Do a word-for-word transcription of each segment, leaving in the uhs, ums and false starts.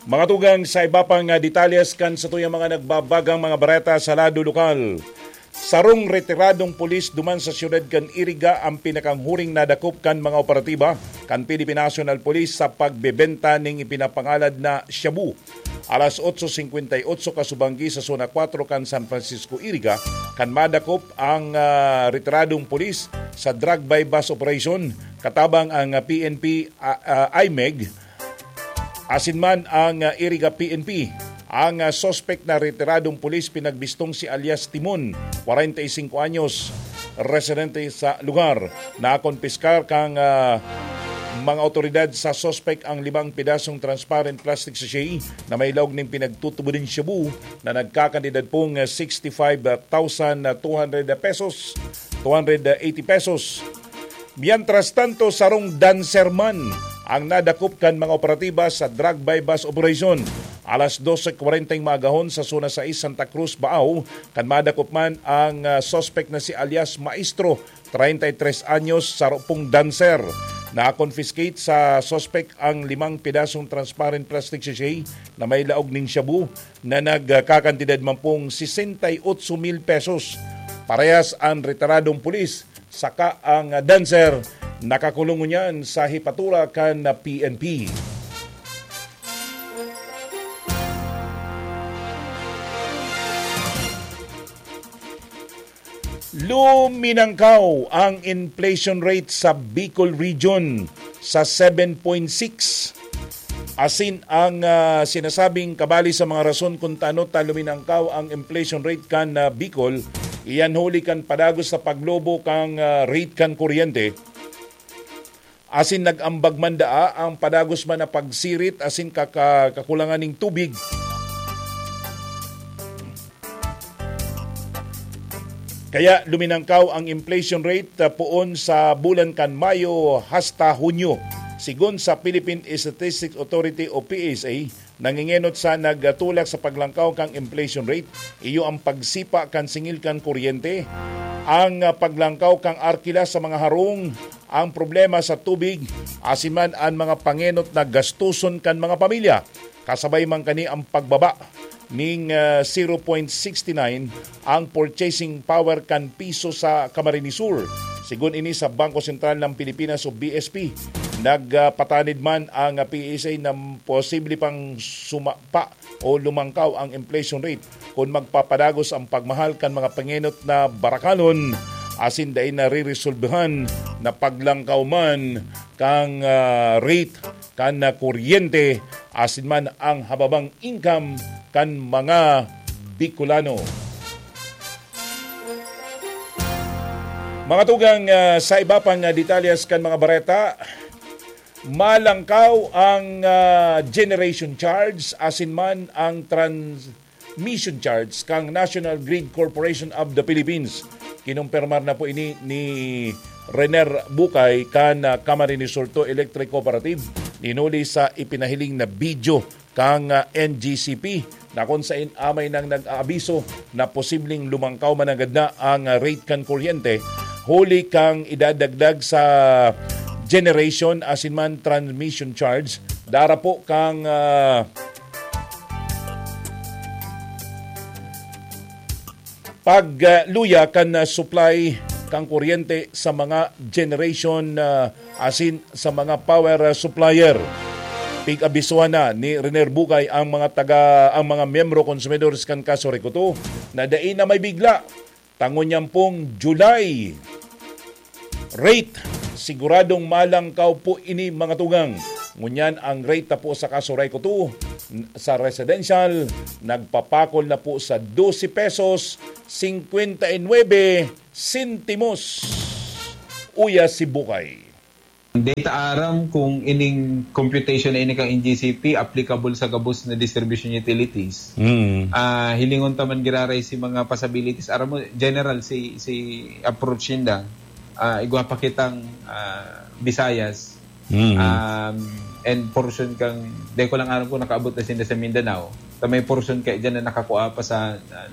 Mga tugang, sa iba pang, ah, detalyes kan satuyang mga nagbabagang mga bareta sa lado lokal. Sarong retiradong pulis duman sa siyudad kan Iriga ang pinakanghuring nadakop kan mga operatiba kan Philippine National Police sa pagbebenta ning ipinapangalad na shabu. Alas otso singkwenta y otso kasubanggi sa Zona Kuwatro kan San Francisco, Iriga, kan madakop ang, ah, retiradong pulis sa drug buy-bust operation katabang ang, ah, P N P, ah, ah, I M E G, asin man ang, ah, Iriga P N P. Ang, ah, suspek na retiradong pulis pinagbistong si alias Timon, kwarenta y singko anyos, residente sa lugar. Nakompiskar kan, ah, mga awtoridad sa suspek ang limang pidasong transparent plastic sachet na may laog nin pinagtutubod nin shabu na nagkakantidad pong, ah, sixty-five thousand two hundred pesos, two hundred eighty pesos. Mientras tanto, sarong dancer man ang nadakop kan mga operatiba sa drug buy-bust operation. Alas dose kwarenta ning maagahon sa Zona sais, Santa Cruz, Baao, kan madakop man ang, ah, suspek na si alias Maestro, treinta y tres anyos, saro pong dancer. Na-confiscate sa suspek ang limang pidasong transparent plastic sachet na may laog nin shabu na nagkakantidad man pong sesenta y otso mil pesos. Parehas ang retiradong pulis saka ang dancer nakakulong ngunyan sa hepatura kan P N P. Luminangkaw ang inflation rate sa Bicol Region sa seven point six. Asin ang, ah, sinasabing kabali sa mga rason kung tano ta luminangkaw ang inflation rate kan, ah, Bicol, iyan huli kan padagos sa paglobo kan, ah, rate kan kuryente. Asin nag-ambag man daa ang padagos man na pagsirit asin kaka-, kakulangan ning tubig. Kaya luminangkaw ang inflation rate, ah, poon sa bulan kan Mayo hasta Hunyo. Sigon sa Philippine Statistics Authority o P S A, nangingenot sa nagtulak sa paglangkaw kan inflation rate, iyo ang pagsipa kan singil kan kuryente, ang, ah, paglangkaw kan arkila sa mga harong, ang problema sa tubig, asin man an mga pangenot na gastuson kan mga pamilya. Kasabay man kani ang pagbaba ning, ah, zero point six nine ang purchasing power kan piso sa Camarines Sur. Sigon ini sa Bangko Sentral ng Pilipinas o B S P, nagpatanid man ang, ah, P S A na posible pang sumapa o lumangkaw ang inflation rate kun magpapadagos ang pagmahal kan mga pangenot na barakalon asin dai nariresolbahan na paglangkaw man kan, ah, rate kan, ah, kuryente asin man ang hababang income kan mga Bicolano. Mga tugang, ah, sa iba pang, ah, detalyes kan mga bareta, malangkaw ang, ah, generation charge asin man ang transmission charge kan National Grid Corporation of the Philippines. Kinumpirmar na po ini ni Rener Bukay kan, ah, Camarines Sur Two Electric Cooperative, hinuli sa ipinahiling na video kan, ah, N G C P, na kun sain amay nang nag-aabiso na posibleng lumangkaw mananggad na ang, ah, rate kan kuryente, huli kan idadagdag sa generation asin man transmission charge, dara po kan, ah, pagluya kan, ah, supply kan kuryente sa mga generation, ah, asin sa mga power, ah, supplier. Pig-abisohan na ni Rener Bukay ang mga taga, ang mga miyembro konsumidores kan Casuray-Cotuí na dai na may bigla ta ngunyan pong July rate, siguradong malangkaw po ini, mga tugang. Ngunyan ang rate na po sa Casuray-Cotuí n-, sa residential, nagpapakol na po sa dose pesos singkwenta y nuebe sentimos. Uya si Bukay. Dai ta aram kung ining computation na ini kan N G C P applicable sa gabos na distribution utilities. Mm. Ah, hilingon ta man giraray si mga possibilities. Aram mo, general si, si approach ninda. Ah, igwa pa kitang, ah, Visayas. Mm. Um, and portion kang, di ko lang alam kung nakaabot na sinda sa Mindanao. Ta may portion kay dyan na nakakua pa sa, ah,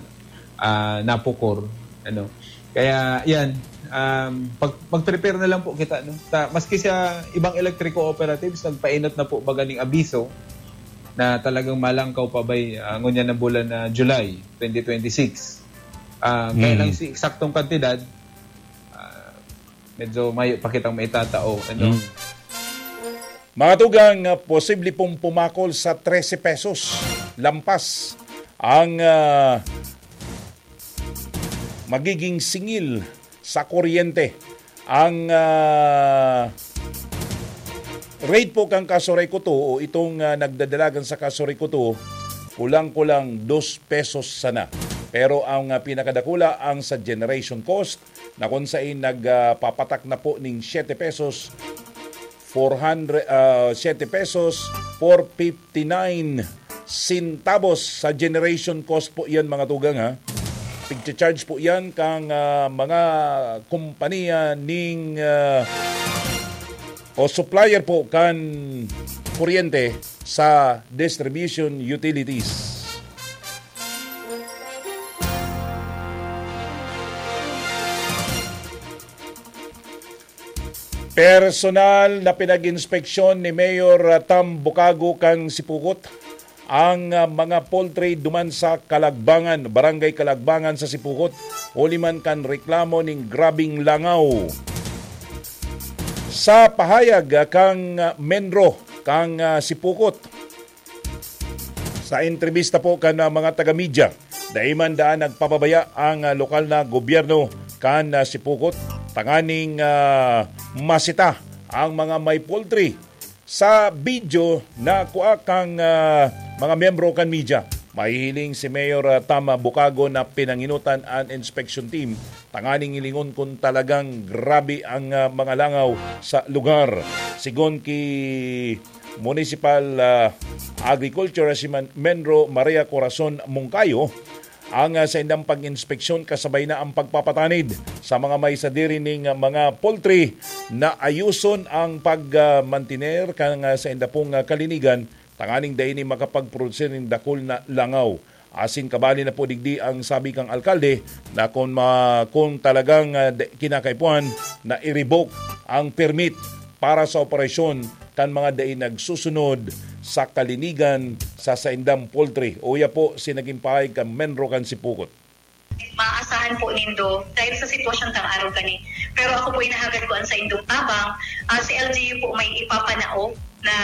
ah, Napocor, ano. Kaya, yan, um, pag, mag-prepare na lang po kita, no? Ta, maski sa ibang electric cooperatives, nagpainot na po baga ning abiso. na talagang malangkaw pa bay, ah, ngunyan na bulan na July twenty twenty-six. Ah, kaya Mm. lang si eksaktong kantidad, ah, medyo mayo pa kitang maitatao, ano? Mm. Mga tugang, ah, posible pong pumakol sa trese pesos lampas ang, ah, magiging singil sa kuryente. Ang, ah, rate po kan Kasuray Kuto o itong, ah, nagdadalagan sa Kasuray Kuto, kulang-kulang dos pesos sana. Pero ang, ah, pinakadakula ang sa generation cost na kung sain nagpapatak na po ning siyete pesos, four hundred, ah, siyete pesos, four fifty-nine centavos sa generation cost po yan, mga tugang, ha. Pigcha-charge po yan kang, ah, mga kompanya ning, ah, o supplier po kan kuryente sa distribution utilities. Personal na pinag-inspeksyon ni Mayor, ah, Tam Bukago kan Sipukot ang, ah, mga poultry duman sa Kalagbangan, Barangay Kalagbangan sa Sipukot, huli man kan reklamo ning grabing langaw. Sa pahayag, ah, kang, ah, Menro kang, ah, Sipukot, sa entrebista po kan, ah, mga taga-media, dai man daan nagpapabaya ang, ah, lokal na gobyerno kan, ah, Sipukot tanganing, ah, masita ang mga may poultry. Sa video na kua kang, ah, mga miyembro kan media, mahihiling si Mayor, ah, Tam Bukago na pinanginutan an inspection team tanganing hilingon kung talagang grabe ang, ah, mga langaw sa lugar. Sigon ki Municipal, ah, Agriculture si Man-, Menro Maria Corazon Moncayo, ang, ah, saindang pag-inspeksyon kasabay na ang pagpapatanid sa mga may sadiri ning, ah, mga poultry na ayuson ang pag, ah, mantener kan, ah, sainda pong, ah, kalinigan tanganing dai ni makapagprodusir nin dakul na langaw. Asin kabali na po digdi ang sabi kang alkalde na kung ma-, kung talagang, ah, de-, kinakaipuhan na i-revoke ang permit para sa operasyon kan mga dai nagsusunod sa kalinigan sa saindang poultry. Uya po si naging pahayag kan Menro kan Sipukot. Maaasahan po nindo dahil sa sitwasyon tang araw kani. Pero ako po, inahagad ko ang saindong tabang. Ah, si L G U po may ipapanao na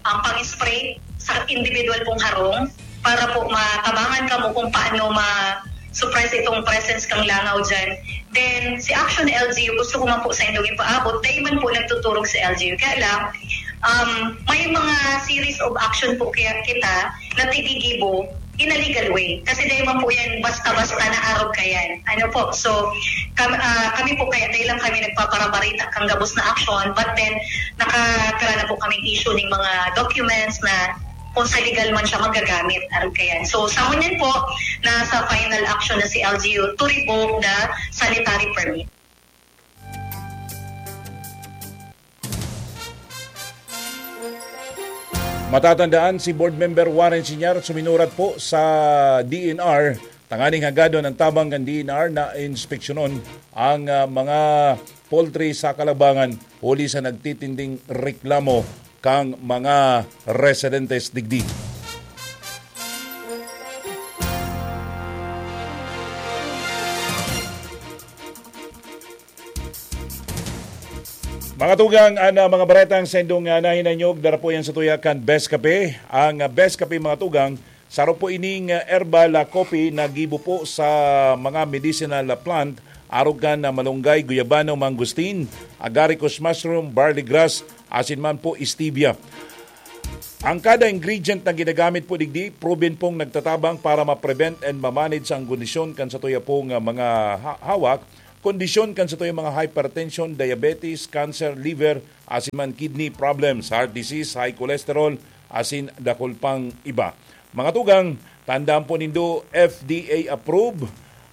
ang pang-spray sa individual pong harong para po matabangan kamo kung paano ma-suppress itong presence kang langaw dyan. Then, si Action L G U, gusto ko man po sa indong ipaabot, dahil man po nagtuturog sa L G U. Kaya lang, um, may mga series of action po kaya kita na tinigibo in a legal way. Kasi dahil man po yan, basta-basta na arog ka yan. Ano po? So, kam-, ah, kami po kaya, dahil lang kami nagpaparabarita kang gabos na action, but then, nakatara na po kami issue ng mga documents na kung sa legal man siya magagamit, arog ka yan. So, sa ngunyan po, nasa final action na si L G U to revoke the sanitary permit. Matatandaan, si Board Member Warren Senior suminurat po sa D N R tanganing hagadon ang tabang kan D N R na inspeksyonon ang, ah, mga poultry sa Kalabangan huli sa nagtitinding reklamo kang mga residentes digdi. Mga tugang, an, ah, mga baretang sendong, ah, nahinanyog, dara po yan sa tuya kan Best Kape. Ang, ah, Best Kape, mga tugang, saro po ining, ah, herbal, ah, coffee na gibo po sa mga medicinal, ah, plant, arog kan, ah, malunggay, guyabano, mangosteen, agaricus mushroom, barley grass, asin man po stevia. Ang kada ingredient na ginagamit po digdi, proven pong nagtatabang para ma-prevent and ma-manage ang kondisyon kan satuya pong, ah, mga ha-, hawak, kondisyon kan satuyang mga hypertension, diabetes, cancer, liver, asin man kidney problems, heart disease, high cholesterol, asin dakul pang iba. Mga tugang, tandaan po nindo, F D A approve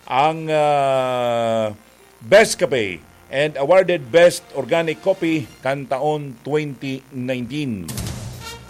ang, ah, Best Kape and awarded Best Organic Coffee kan taon twenty nineteen.